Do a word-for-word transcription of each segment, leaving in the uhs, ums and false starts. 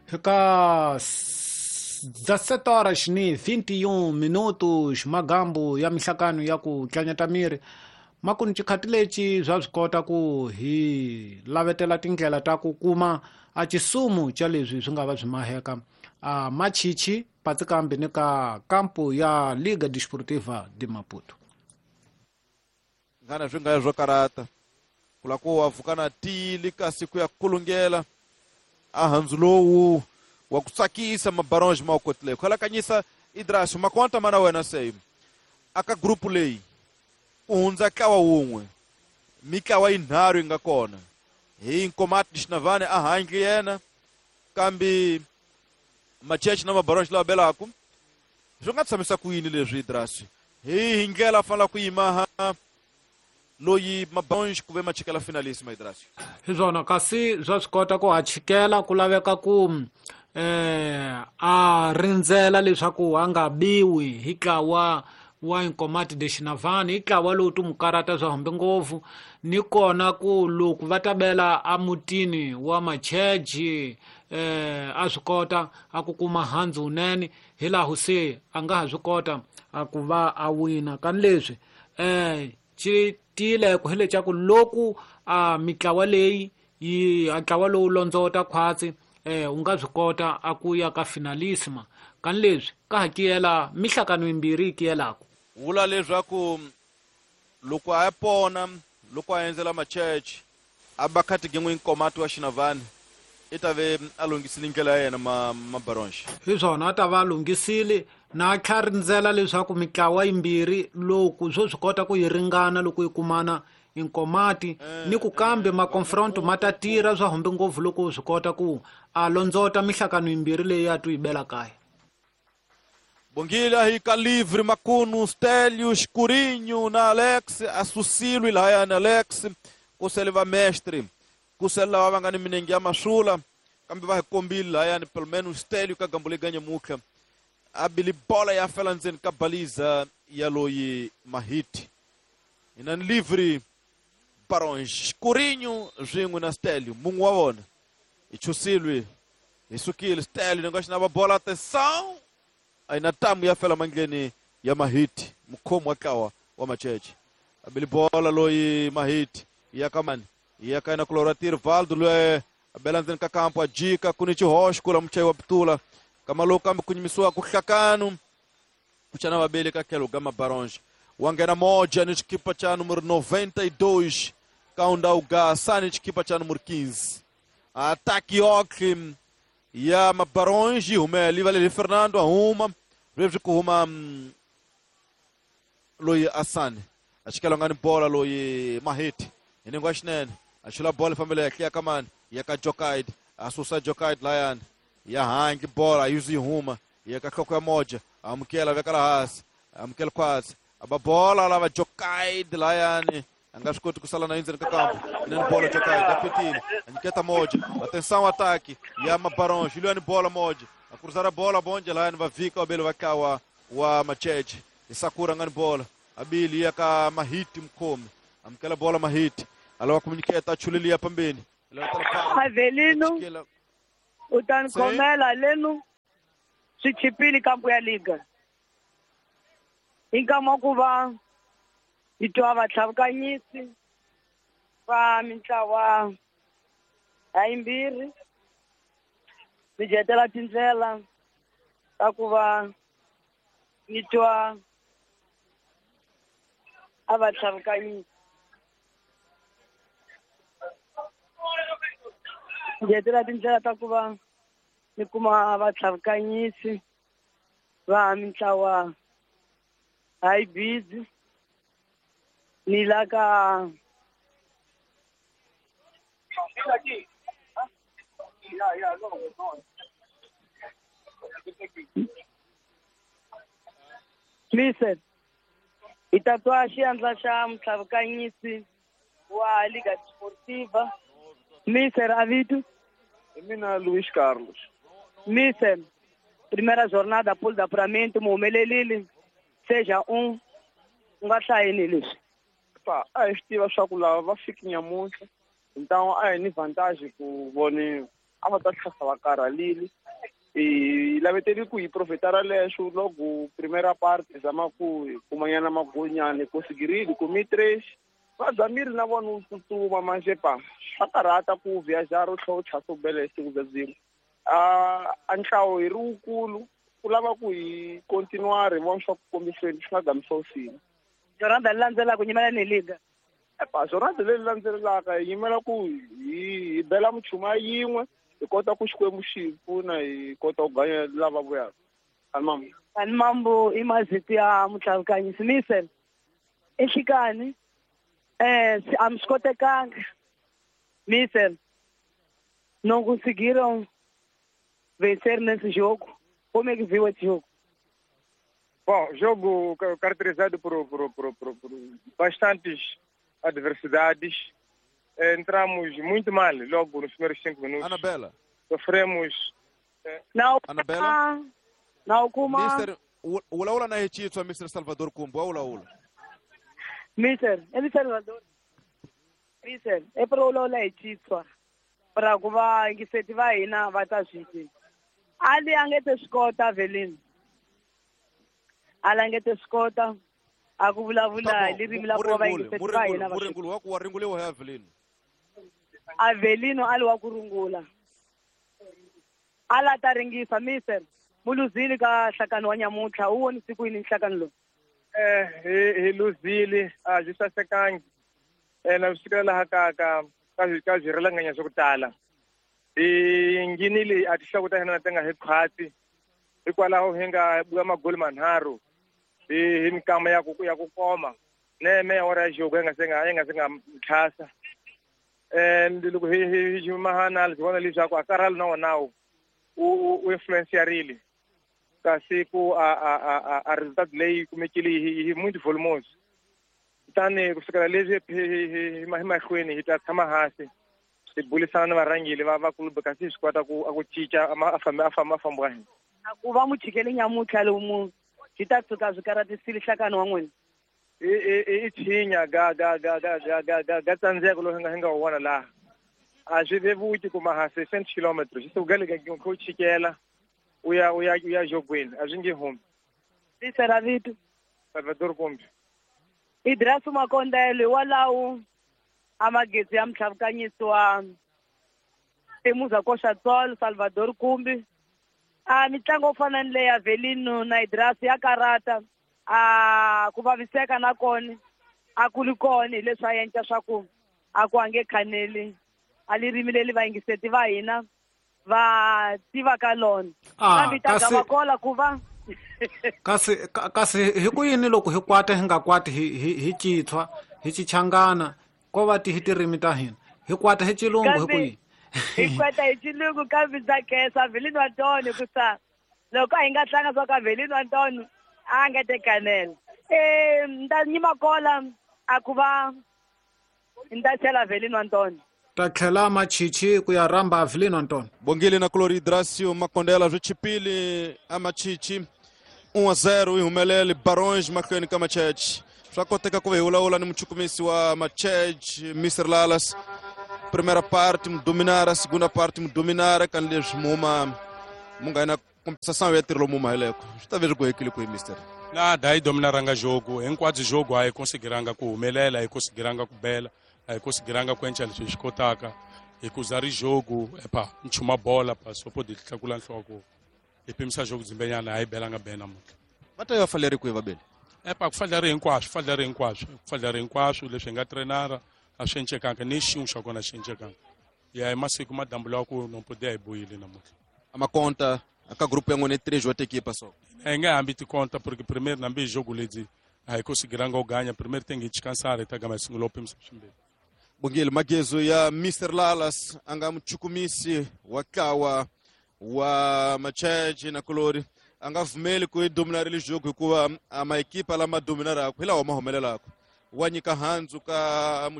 Ka dezessete horas ni vinte e um minutos magambu ya mihlakano ya ku tlanyata miri makuni xikhathi lexi bya swi kota ku hi lavetela tindlela ta ku kuma a xisumu xa leswi swi nga va swi maheka a machichi patsikambi ni ka kampo ya Liga Desportiva de Maputo. Ngana swi nga zwo karata kula ku wa vuka na tili kasi ku ya kulungela a handzu lowu wa ku tsakisa mabaronge ma kotile khalakanyisa Idras makonta mana wena sei aka grupu leyi ku hundza ntlawa wun'we mitlawa yinharhu yi nga kona hi Nkomati Xinavane a handle yena kambe Macheche na mabaronge lawa belaku swi nga tshamisa ku yini leswi Idras hi hi ndlela fanela ku yima loyi mabaronge ku ve machikela finalissima Idras hi swona kasi bya swi kota ku ha chikela ku laveka ku eh a rindzela leswaku a nga biwi hi ntlawa wa Nkomati de Xinavane hi ntlawa lowu timukarata swa hambi ngopfu ni kona ku loko va ta bela emutini wa Macheche eh a swi kota a ku kuma handzu wunene hi laha se a nga ha swi kota a ku va a wina kani leswi eh xi tiyile ku hi leswaku loko a mitlawa leyi yi a ntlawa lowu londzota khwatsi eh u nga swi kota a ku ya ka finalissima kani leswi ka ha kiyela mihlakano yimbirhi yi kiyelaka vula leswaku loko a pona loko a endzela Macheche a ba khatigingwe Nkomati wa Xinavane i ta ve a lunghisile ndlela ya yena ma mabaronge hi swona a ta va a lunghisile na tlha rindzela leswaku mitlawa yimbirhi loko swo swi kota ku yi ringana loko yi kumana Nkomati ni ku kambe maconfronto ma ta tirha swa humbe ngopfu loko swi kota ku a londzota mihlakano yimbirhi leyi a tu yi bela kaya. Bongile hi ka livre Makuno Stélio Escurinho na Alex Asucilo lahaya na Alex kusele va mestre kusele lava va nga ni minenge ya masula kambe va hi kombile lahaya ni pelo menos Stélio ka gambo leyi ganya mukha a bili bola ya fela ndzeni ka baliza ya loyi Mahiti ina ni livre Baronge Escurinho swin'we na Stélio mun'we wa vona hi chusilwe hi sukile Stélio ni nga xi na va bola atenção aina tamu ya fela mandleni ya Mahiti mukhomi wa ntlawa wa Macheche abili bola loyi Mahiti ya kamani ya kaina kulora Tirvaldo loyi abela ndzeni ka kampo ajika kuni xihoxo kula muchayi wa pitula kama kambe ku nyimisiwa ku hlakanu kuchana vabeli ka tlhelo ga Mabaronge wa nghena moja ni xikipa xa número noventa e dois kaunda uga ni xikipa xa número quinze ataki okli ya Mabaronge humela valele Fernando ahuma leswi ku huma loyi Asani a xikela nga ni bola loyi Mahiti hi ningo xinene a xula bola fambela ya ya kamani ya ka Jokaid a susa Jokaid layani ya hangi bola yuzi huma ya ka hloko ya moja amukela veka la hansi amukela khwatsi aba bola lava Jokaid layani a nga swi koti ku sala na endzeni ka kampo inani bola Jokaid a petile a nyiketa moja atenção ataque ya Mabaronge Juliano bola moja a cruzar a bola bonde layani va vika wabele va kawa wa Macheche Isakura ngani bola abili ya ka Mahiti mukhomi amukela bola Mahiti alava ku achulilia pambeni Avelino u ta ni khomela lenu swi chipile kampo ya liga hi nkama ku va hi twa vatlhavukanyisi va mintlawa ha yimbirhi mi jetela tindlela ta ku va ni twa a vatlhavukanyisi jetela tindlela ta ku va ni kuma vatlhavukanyisi va mintlawa ha yi busy ni la ka Listen, hi ta twa xiandla xa mutlhavukanyisi wa Liga Desportiva Mister Avito. Hi mina Luis Carlos. Mister, primeira jornada pool de apuramento mi humelelile seja um u nga hlayini leswi Pa, a hi swi tiva swa ku lava va fiki nyamuntlha então a hi ni vantagem ku voniwa a va ta tlhasa va karhalile. Hi laveteli ku hi profitara leswo loko primera parte zama ku hi kumanyana magonyana hi konsigirile kumi três va zamile na vona u tsutsuma manje pa swa karhata ku viajar u tlhela u tlhasa u bela hi siku bya byin'we. A ntlawa hi ri wukulu ku lava ku hi continuar hi vona swa ku kombiseni swi nga gamisa usini. Jornada leyi landzelaka nyimela ni liga. Epa jornada leyi landzelaka hi yimela ku hi bela muchuma yin'we hi kota ku Xikwembu xi hi pfuna hi kota ku ganya lava vuyaka. Animambu. Animambu i mazito ya mutlhavukanyisi Misel. Enhlikani eh a mi swi kotekanga. Misel não conseguiram vencer nesse jogo. Como é que viu esse jogo? Bom, jogo caracterizado por, por, por, por, por bastantes adversidades. Entramos muito mal logo nos primeiros cinco minutos. Anabela. Sofremos. Não, Anabela. Não, kuma. Mister, ula ula na hechitwa Mister Salvador Kumbu, ula ula. Mister, ele Salvador. Mister, é para ula ula hechitwa. Para ku va yingiseti va hina va ta swi tiva. Ali a nge te swi kota Avelino. Ali a nge te swi kota a ku vulavula hi ririmi la ku va yingiseti va hina va swi Muringulu wa ku wa ringuliwa hi Avelino. Avelino ali wa ku rungula. Ala ta ringisa Mister muluzili ka nhlakano wa nyamuntlha u vonise ku yini nhlakano lowu? Eh hi hi luzile a byi sasekangi. Eh na swi laha ka ka ka ka byi rilanganya swa ku tala. Hi nghenile a tinhloko ta hina ti nga hi khwatsi hikwalaho hi nga buya magoli manharhu hi hi mikama ya ku ya ku koma neme ya ora ya jogo yi nga se nga yi nga se nga tlhasa. And loko hi hi hi mahana hi vona leswaku a karhalo na wona wu u influencerile kasi ku a a a a resultado leyi kumekile hi hi muito volumoso. Kutani ku sukela leswi hi hi mahlweni hi ta tshama hansi hi burisana na varhangeri va va club kasi hi swi kota ku a ku cinca a famba a famba a famba wa hina. A ku va muchikele nyamuntlha lomu byi ta tshuka byi karatisile nhlakano wa n'wina. I i i tshinya ga ga ga ga ga ga ga ga tsandzeko lowu hi nga hi nga wu vona laha. A swi vevuki kuma ha sixty kilometers swi suka le ka ku chikela u ya u ya u ya jogweni a swi nge humi. Tisera vito Salvador Kumbi. Idrasu Makondele walawo a magezi ya mutlhavukanyisi wa Temuza Koxa Tsolo Salvador Kumbi. A mitlangu yo fana ni leya Avelino na Idrasu ya karata a ku vaviseka na kona a ku ri kona hi leswi a endla swa ku a ku a nge khaneli a ririmi leri vayingiseti va hina va tivaka lona. Kambe ta gava kola ku va kasi kasi hi ku yini loko hi kwata hi nga kwati hi hi hi chithwa hi chichangana ko va ti hi tirimi ta hina hi kwata hi chilungu hi ku yini hi kwata hi chilungu kambe ndza khensa Avelino Antonio ku sa loko a hi nga tlanga swa ka Avelino Antonio a nga te kanela. Eh nda nyima kola a ku va nda chela Avelino Antonio ta tlhela machichi ku ya rhamba Avelino Antonio. Bongile na Clori Idracio Makondela swi chipile a machichi um a zero hi humelele Barões mahlweni ka Macheche. Swa koteka ku va hi vulavula ni muchukumisi wa Macheche Mister Lalas. Primeira parte mu dominara, segunda parte mu dominara kan leswi muma mu nga na compensação ya tirho lomu maheleko. Swi ta ve swi gohekile ku hi Mister. Nada hi dominaranga jogo, hinkwabyo jogo a hi konsigiranga ku humelela, hi konsigiranga ku bela, a hi konsigiranga ku endla leswi hi swi kotaka. Hi ku za ri jogo epa nchuma bola pa so pode tlakula nhloko. Hi pimisa jogo dzimbenyana a hi belanga be namuntlha. Va ta ya faleri kwihi vabeli? Epa ku faleri hinkwaswo, faleri hinkwaswo, ku faleri hinkwaswo leswi hi nga trenara a swi encekanga ni xin'we xa kona xi encekanga. Ya hi masiku madambu lawa ku nompode a hi buyile namuntlha. A makonta aka grupo ya n'wina três wa equipa só. Hi nga hambi tikonta porque primeiro nambi jogo ledzi a hi konsigiranga u ganya primeiro tem que descansar hi ta gama hi sungula u pimisa swimbirhi. Bongile magezo ya Mister Lalas a nga muchukumisi wa ntlawa wa Macheche na Kolori a nga pfumeli ku hi dominarile jogo hikuva a maekipa lama dominaraka hi lawa ma humelelaka. Wa nyika handzu ka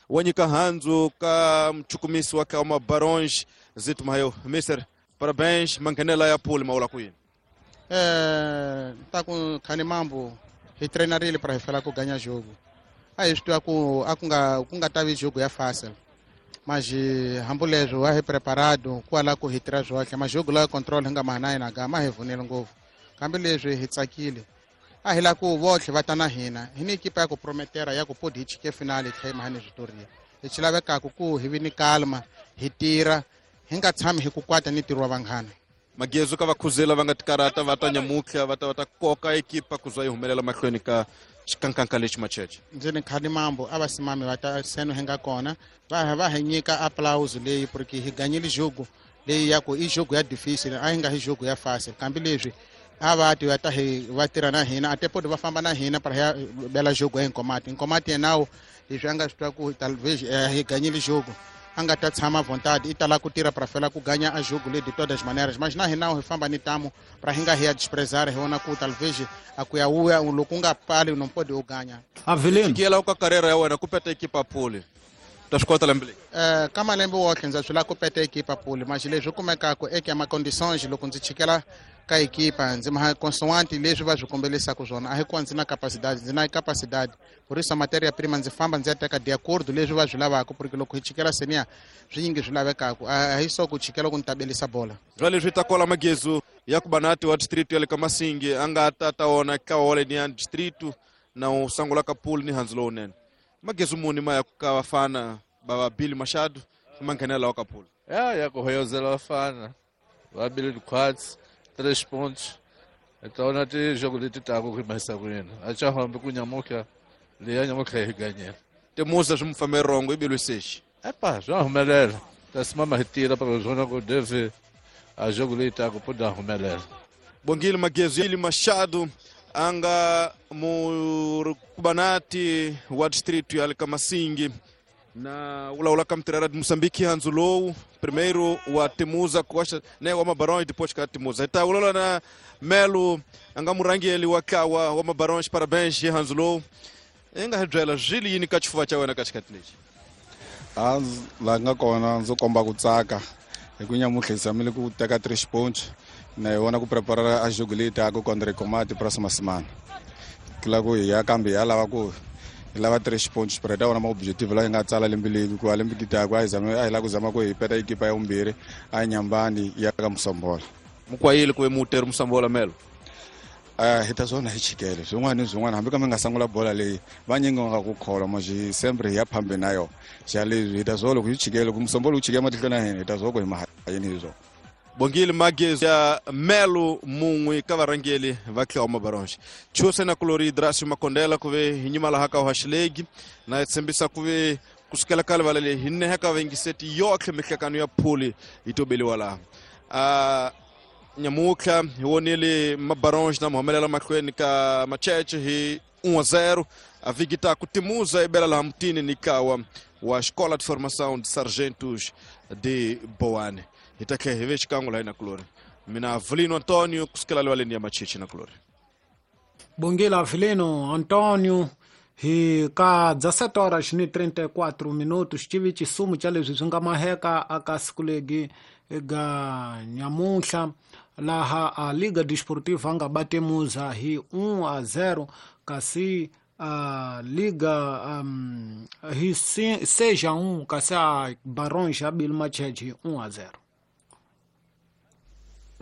wa nyika handzu ka muchukumisi wa ntlawa wa Barões Zito Mayo. Mister, parabéns, manghenela ya pool ma vula ku yini? Eh ta ku khani mambo hi treinarile para hi fela ku ganya jogo. A hi swi tiva ku a ku nga ku nga tavi jogo ya fácil. Mas hambuleswo a hi preparado kwala ku hi tirha swohle mas jogo la control hi nga maha na hina ga ma hi vunele ngopfu kambe leswi hi tsakile a hi la ku votlhe va ta na hina hi ni ekipa ya ku prometera ya ku podi hi chike finale hi tlhela hi maha ni switoria lexi lavekaka ku hi vi ni kalma hi tirha hi nga tshami hi ku kwata ni ntirho wa vanghana. Magezu ka vakhuzela va nga tikarata va ta nyamutlha va ta va ta koka ekipa ku za yi humelela mahlweni ka xikankanka lexi Macheche. Ndzi ni khani mambo a va simami va ta seno hi nga kona va va hi nyika applause leyi porque hi ganyile jogo leyi ya ku i jogo ya difficile a hi nga hi jogo ya fácil kambe leswi a va ti va ta hi va tirha na hina a tepodi va famba na hina para ya bela jogo ya Nkomati. Nkomati yenawo leswi a nga swi twa ku talvez hi ganyile jogo a nga ta tshama vontade i tala ku tirha para fela ku ganha a jogo le de todas as maneiras mas na hina hi famba ni tamo para hi nga hi ya desprezar hi vona ku talvez a ku ya uya loko u nga pali não pode u ganha. Avelino xikela ka carreira ya wena ku peta ekipa pole ta swi kota lembe leyi eh ka malembe wotlhe ndza swi lava ku peta ekipa pole mas leswi kumekaka eka ma condições loko ndzi chikela ka ekipa ndzi ma consoante leswi va swi kombelisaka swona a hi ku ndzi na capacidade ndzi na capacidade por isso a matéria prima ndzi famba ndzi ya teka de acordo leswi va swi lavaka porque loko hi chikela senior swi nyingi swi lavekaka a hi so ku chikela ku ni tabelisa bola. Bya leswi ta kola Magezu ya ku banati wa district ya le ka Masingi a nga ta ta wona ka wole ni ya district na u sangula ka pool ni handzu lowunene. Magezu muni ma ya ka vafana va va Billy Machado ma nghenela wa ka pool. Ya ya ku hoyozela vafana va Billy Quads três pontos. Então na ti jogo leti taku ku mahisa ku yena. A cha hambi ku nyamuka leya nyamuka hi ganyela. Temuza swi mufambe rongo i bilwi sexi. Epa, swa humelela. Ta simama hi tira para zona ku deve a jogo leyi taku po da humelela. Bongile Magezu Billy Machado anga mukubanati wa distrito ya le ka Masingi na ulawula ka mutirhela de Moçambique handzu lowu primeiro wa Temuza Costa né wa Mabarões depois ka Temuza ta ulawula na Melo anga murangeli wa kawa wa Mabarões parabéns handzu lowu enga hi byela swi yini ka xifuva xa wena ka xikati lexi. A la nga kona ndzi komba ku tsaka hi ku nyamutlha hi tshamile ku teka three points na hi vona ku prepara a jogo leyi taka contra Nkomati próxima semana kila ku hi ya kambe ya lava ku hi lava three points para ta wona ma objective la hi nga tsala lembe leyi ku a lembe kitaka a hi zama a hi lava ku zama ku hi peta ekipa ya vumbirhi a nyambani ya ka Musombola. Mukwayile ku ve muteri Musombola Melo. A hi ta swona hi chikele swin'wana ni swin'wana hambi ka mi nga sangula bola leyi vanyingi va nga ku kholwa mas sempre hi ya phambi na yona xa leswi hi ta swo loko hi chikele ku Musombola wu chike matihlweni ya hina hi ta swo ku hi mahayini hi swona. Bongile Magezu ya Melo mun'we ka varhangeli va Tlhawa Mabarões. Chuse na kulori Dracio Makondela ku ve hi nyima laha ka Hoxilegi na hi tshembisa ku ve kusukela ka livala leyi hi neheka vengiseti yotlhe mihlekano ya phuli yi tobeliwa laha. A nyamutlha hi vonile Mabarões na muhumelela mahlweni ka Macheche hi um a zero a Vigita ku Temuza i bela laha mutini ni kawa wa Escola de Formação de Sargentos de Boane. Hi ta tlhela hi ve xikan'we laha na kulori mina Avelino Antonio kusukela livaleni ya Macheche na kulori. Bongile Avelino Antonio hi ka dezessete horas ni trinta e quatro minutos tive xisumo xa leswi swi nga maheka aka siku legi ega nyamuhla laha a Liga Desportiva nga ba Temuza hi um a zero kasi a Liga um, hi seis a um kasi a Barões ya Billy Macheche hi um a zero.